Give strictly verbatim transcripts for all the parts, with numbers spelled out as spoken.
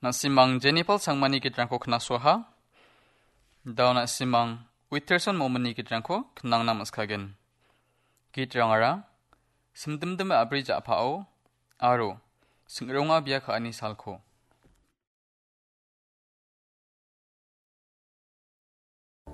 Na·simang Jennifer Sangmani gitrangko knasoaha. Dao na·simang Witterson Momini gitrangko knangna maskagen. Gitrangara simdimdim a·bri ja·pao aro sing·ronga bia ka·ani salko.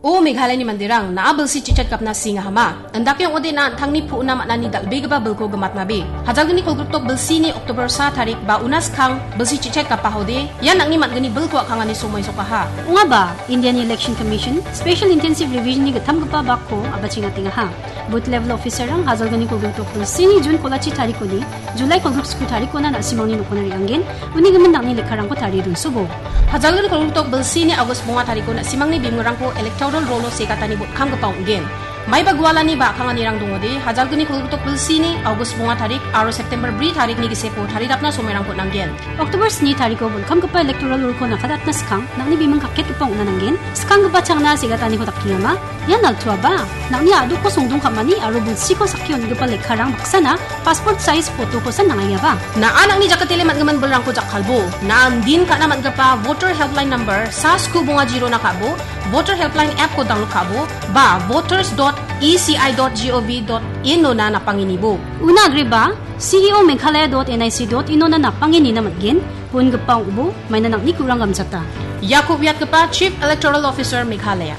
O Meghalayani manderang, na·a bilsi chichet gapna singahama. Indake ong·ode na an·tangni pu·na man·ani dal·begipa bilko gimatnabe. Hajalgni kolgrikdok bilsini October sa tarik ba una skang bilsi chichet gapahode, ian nang·ni man·gni bilko a·kangani somoi sokaha. Ong·aba, Indiani Election Commission Special Intensive Revision-ni gittamgipa bakko a·bachengatengaha. Booth level officer-rang hajalgni kolgrikdok bilsini June kolachi tarikoni July kolgrik sku tarikona na·simangni nokona re·angen, uni gimin nang·ni lekkarangko tarie donsobo. Hajalgni kolgrikdok bilsini August bonga tariko na·simangni bimingrangko electoral roll-o segatani botkamgipa ong·gen. Maiba gualani ba a·kanganirang dongode, hajalgni kolgrikdok bilsini August bonga tarik aro September bri tarikni giseko tarirapna somoirangko nanggen. October sni tariko botkamgipa electoral roll-ko nakadatna skang, nang·ni biming kaketgipa ong·na nanggen. Skanggipa changna segataniko dakengama. Ian altuaba, nang·ni a·dokko songdong ka·mani aro bilsiko sakki on·gipa lekkarang baksana passport size photo-kosan nang·aiaba. Na·a nang·ni jakatele man·gimin bilrangko jakkalbo. Na·a indin ka·na man·gipa voter helpline number sa sku bonga jirona ka·bo, voter helpline app-ko download ka·bo, ba voters dot E C I dot G O V dot in-ona napangenibo. Una agreba, C E O Meghalaya dot N I C dot in-ona napangenina man·gen, bon·gipa ong·bo, maina nang·ni kurang gamchata. Iako uiatgipa Chief Electoral Officer Meghalaya.